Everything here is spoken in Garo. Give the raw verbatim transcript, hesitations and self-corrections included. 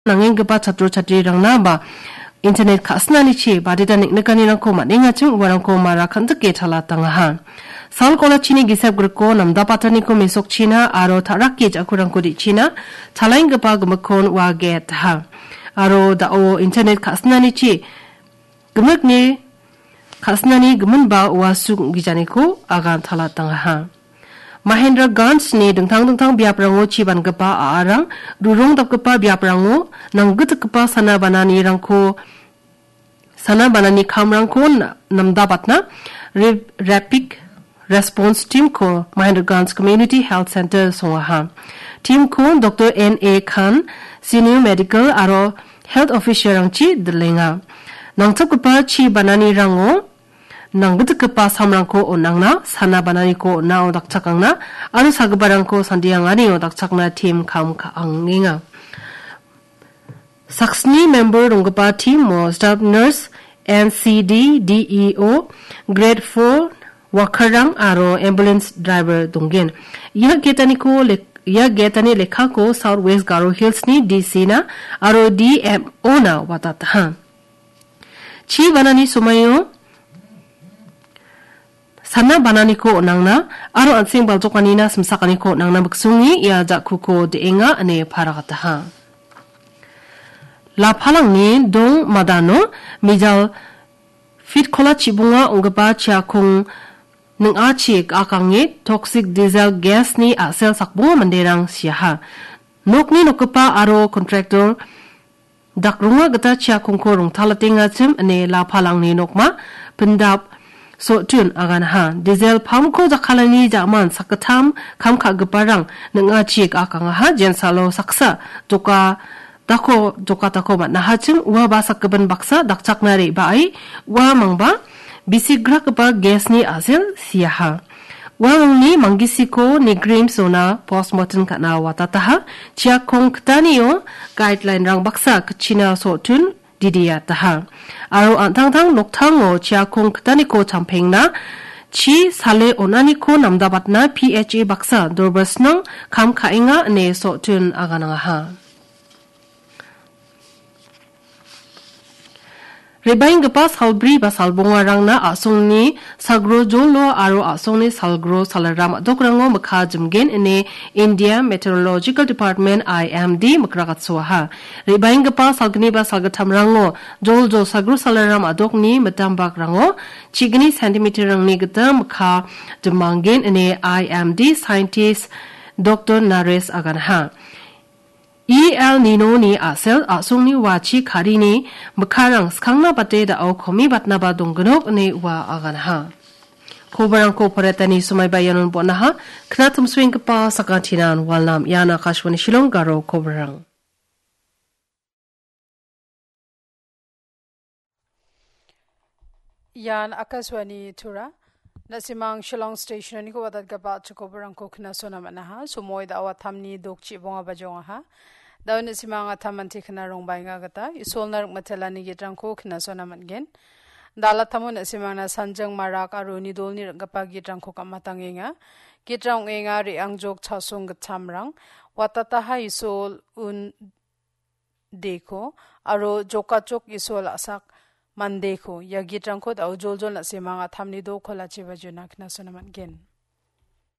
nangenggipa chatro chatrirangna ba internet ka·sinanichi badita neng·nikanirangko man·engachim uarangko mara kandike talatangaha. Sal kolachini gisep griko namdapataniko mesokchina aro ta·rake ja·kurangko de·china talaenggipa gimikkon ua getaha. Aro da·o internet ka·sinanichi gimikni ka·sinani giminba ua suk ong·gijaniko agan talatangaha. Mahendraganjni dingtang dingtang biaprango chi bangipa a·arang, rurong dapgipa biaprango nanggitgipa sana bananirangko, sana banani kamrangko na-, namdabatna Re-, Rapid Response Team-ko Mahendraganj Community Health Center songaha. Team-ko Doktor N A Khan, Senior Medical aro Health Officer-rangchi dilenga. Nangchapgipa chi bananirango nanggitgipa samrangko on·angna, sana bananiko on·ao dakchakangna aro sagiparangko sandianganio dakchakna team kam ka-, angenga. Saksni member donggipa team-o staff nurse, N C D, D E O, grade four worker-rang aro ambulance driver donggen. Ia getaniko lek-, ia getani lekkako South West Garo Hills-ni D C-na aro D M O-na watataha. Chi banani somaio sana bananiko on·angna aro an·seng baljokanina simsakaniko on·angna miksonge ia ja·kuko de·enga ine paragataha. Lapalangni dong madano mijal fitkola chibonga ong·gipa chiakong ning·achi ga·akange toxic diesel gas-ni a·sel sakbonga manderang siaha. Nokni nokgipa aro contractor dakronga gita chiakongko rongtalatengachim ine lapalangni nokma pindap Sotun aganaha. Diesel pump-ko jakkalani ja·man sakgittam kam ka·giparang ning·achi ga·akangaha. Jensalo saksa doka dako, doka dako man·ahachim ua ba sakgipin baksa dakchakna re·bae ua mangba bisigrakgipa gas-ni a·sel siaha. Uamangni manggisiko Nigrim zona postmortem ka·na watataha. Chiakong kitanio guideline-rang baksa kitchina Sotun didiataha. Aro an·tangtang noktango chiakong kitaniko champengna chi sale on·aniko namdabatna P H A baksa dorbasnang kam ka·enga ine Sotun aganangaha. Re·baenggipa salbri ba salbongarangna a·songni salgro jolo aro a·songni salgro salaram a·dokrango mikka jimgen ine India Meteorological Department, I M D, mikrakatsoaha. Re·baenggipa salgni ba salgittamrango joljol salgro salaram a·dokni mitambakrango chigni centimeter-rangni gita mikka jimanggen ine I M D scientist Doktor Naresh aganha. E El Nino-ni a·sel a·songni wachi karini mikkarang skangna bate da·o komibatnaba donggnok ine ua aganha. Kobarangko poretani somaiba ianon bon·aha. Knatim suenggipa sakantinan walnam ian Akashvani Shillong Garo kobarang. Ian Akashvani Tura. Na·simang Shillong Station-oniko watatgipa chikobarangko knasona man·aha. Somoi da·o atamni dokchi bonga bajongaha. Da·o na·simang atam anti kna rongbaenga gita Isolna rikmatelani gitrangko knasona man·gen. Dalatamo na·simangna sanjing marak aro uni dolni ring·gipa gitrangko gam·atangenga. Gitrang ong·enga re·angjok chasong gitchamrang. Watataha Isol un deko aro jokachok Isol a·sak mandeko ia gitrangko da·o joljol na·simang atamni dokolachiba jona knasona man·gen.